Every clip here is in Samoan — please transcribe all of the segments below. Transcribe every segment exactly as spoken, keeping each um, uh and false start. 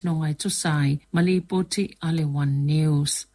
Faamasinoga e tusa ai ma lipoti a le One News.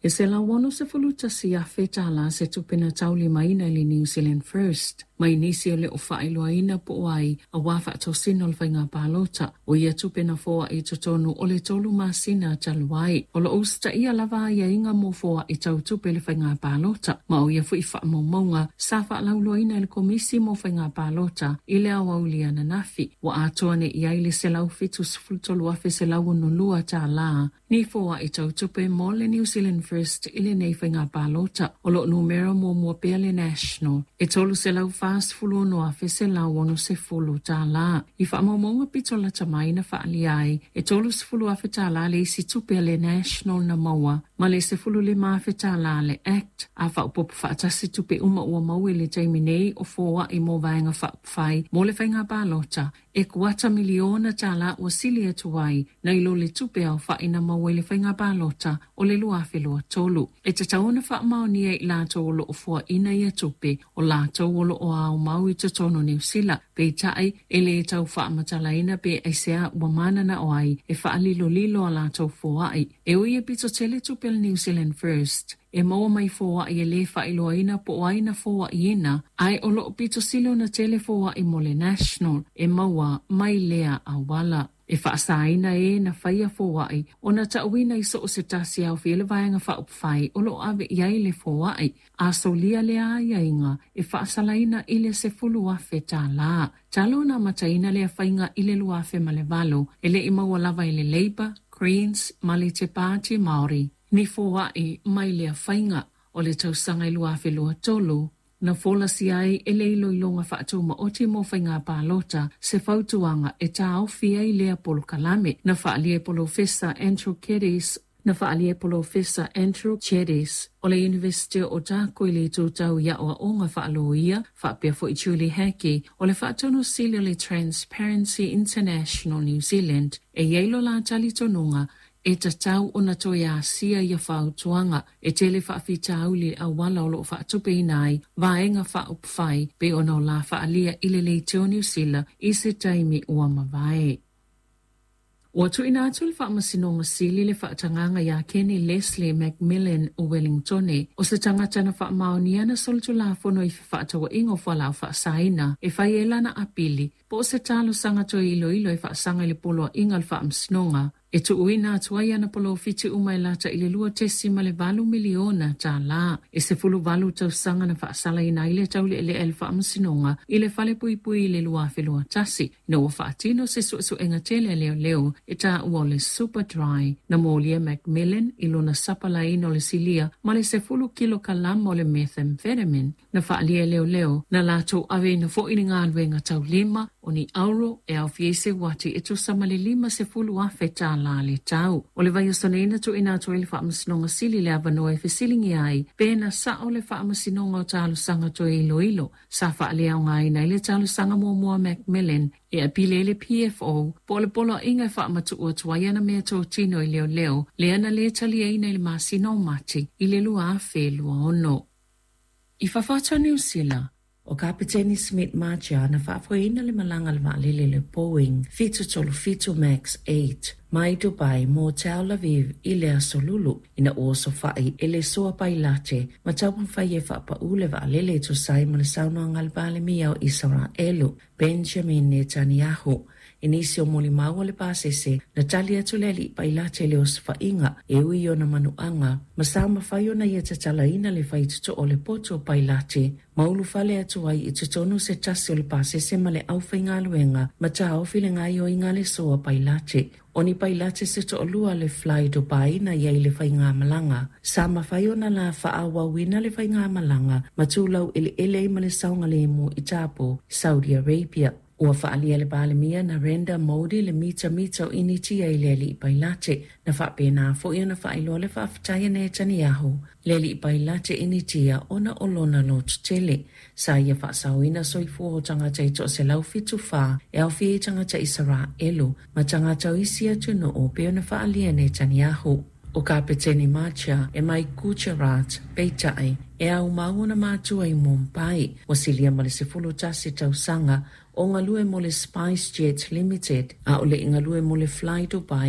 E selau ono sefulu tasi afe tālā se tupe na taulimaina i le New Zealand First mai nisi o le o faailoaina po o ai auā faatosina o le faiga palota o ia tupe na foaʻi i totonu o le tolu masina talu ai. O lo o usitaia lava aiaiga mo foaʻi tau tupe i le faiga palota ma o ia foi faamaumauga sa faalauiloaina e le Komisi mo Faiga Palota i le aoauli ananafi ua atoa nei i ai le selau fitu sefulu tolu afe selau ono lua tālā ni foaʻi tau tupe mo le New Zealand First i lenei faiga palota. O lo o numera muamua pea le National e tolu selau fa sefulu ono afe selau ono sefulu tālā. I faamaumauga pito lata mai na faaalia ai e tolu sefulu afe tālā le isi tupe a le National na maua ma le sefulu lima afe tālā a le Act a faaopoopo faatasi tupe uma ua maua i le taimi nei o foaʻi mo vaega faaupufai mo le faiga palota e kuata miliona tālā ua sili atu ai nai lo le tupe aofaʻi na maua i le faiga palota o le lua afe lua tolu. E tatau ona faamaonia e i latou o lo o foaʻina ia tupe o latou o lo o aomau i totonu o Niu Sila, peitai e lē tau faamatalaina pe aisea ua mananao ai e faalilolilo a latou foaʻi. E ui e pito tele tupe a le New Zealand First e maua mai foaʻi e lē faailoaina po o ai na foaʻiina, ae o lo o pito sili ona tele foaʻi mo le National e maua mai lea auala. E faasaina e na faia foaʻi ona taʻuina i so o se tasi e aofia ai le vaega faaupufai o lo o ave i ai le foaʻi. A solia lea aiaiga e faasalaina i le sefulu afe tālā. Talu ona amataina lea faiga i le lua afe ma le valo, e le i maua lava e le Labour, Greens ma le Te Pāti Māori ni foaʻi mai lea faiga. O le tausaga e lua afe lua tolu, na folasia ai e le iloiloga faatūmaoti mo faiga palota se fautuaga e taofi ai lea polokalame. Na faaalia e Polofesa Andrew Keddie na faaalia e Polofesa Andrew Geddes o le Iunivesite o Otago i le itu tau i aʻoaʻoga faaloia faapea foi Julie Hackey o le Faatonu Sili o le Transparency International New Zealand e i ai lo la talitonuga e tatau ona toe asia ia fautuaga. E tele faafitauli i le auala o lo o faatupeina ai vaega faaupufai pei ona o la faaalia i le leitio Niu Sila i se taimi ua mavae. Ua tuuina atu e le Faamasinoga Sili le faatagaga iā Kenny Leslie McMillan o Wellingtone, o se tagata na faamaonia na solitulafono i fefaatauaiga o fualaau faasaina e fai ai lana apili po o se talosaga toe iloilo e faasaga i le Poloaiga a le Faamasinoga e tuuina atu ai ana polofiti uma e lata i le lua tesima le valu miliona tālā. E sefulu valu tausaga na faasalaina ai le tauleelea e le Faamasinoga i le falepuipui i le lua afe lua tasi ina ua faatino se suesuega tele a leoleo e taua o le Super Dry. Na molia e McMillan i lona sapalaiina o le silia ma le sefulu kilokalama o le methamphetamine na faaalia e leoleo na latou aveina foi le galuega taulima o ni auro e aofia ai se uati e tusa ma le lima sefulu afe tālā le tau. O le vaiaso nei na tuuina atu ai le Faamasinoga Sili le avanoa e fesiligia ai pe na sao le Faamasinoga o Talosaga toe iloilo sa faaleaogaina ai le talosaga muamua a McMillan e apili ai le P F O po o le Poloaiga e faamatuu atu ai ana meatotino i leoleo lea na lē taliaina i le masina o Mati i le lua afe lua ono. I fafo atu o Niu Sila, O Kapeteni Smit Marcia na faafoeina le malaga a le vaalele le Boeing fitu tolu fitu Max eight mai Dubai mo Tel Aviv i le Aso Lulu ina ua osofai e le soa pailate ma taumafai e faapaū le vaalele e tusa ai ma le saunoaga a le Palemia o Isaraelu Benjamin Netanyahu. I nisi o molimau o le pasese na tali atu le alii pailate i le osofaiga e ui i ona manuaga ma sa mafai ona ia tatalaina le faitotoo o le poto o pailate ma ulufale atu ai i totonu se tasi o le pasese ma le aufaigaluega ma taofi le gaoioiga a le soa pailate. O ni pailate se toalua le Fly Dubai na i ai le faigamalaga sa mafai ona la faaauauina le faigamalaga ma tulau eleele ai ma le saogalemu i Tapo, Saudi Arabia. Ua faaalia e le Palemia Narendra Modi le mitamita o Initia i le alii pailate na faapena foi ona faailoa le faafetai a Netanyahu le alii pailate Initia ona o lona lototele. Sa ia faasaoina soifua o tagata e toaselau fitu fa e aofia ai tagata Isaraelu ma tagata o isi atunuu pei ona faaalia e Netanyahu. O Kapeteni Marcia e mai Gujarat, peitai e aumau ona matua i Mumbai. Ua silia ma le sefulu tasi tausaga o galue mo le SpiceJet Limited a o le i galue mo le Fly Dubai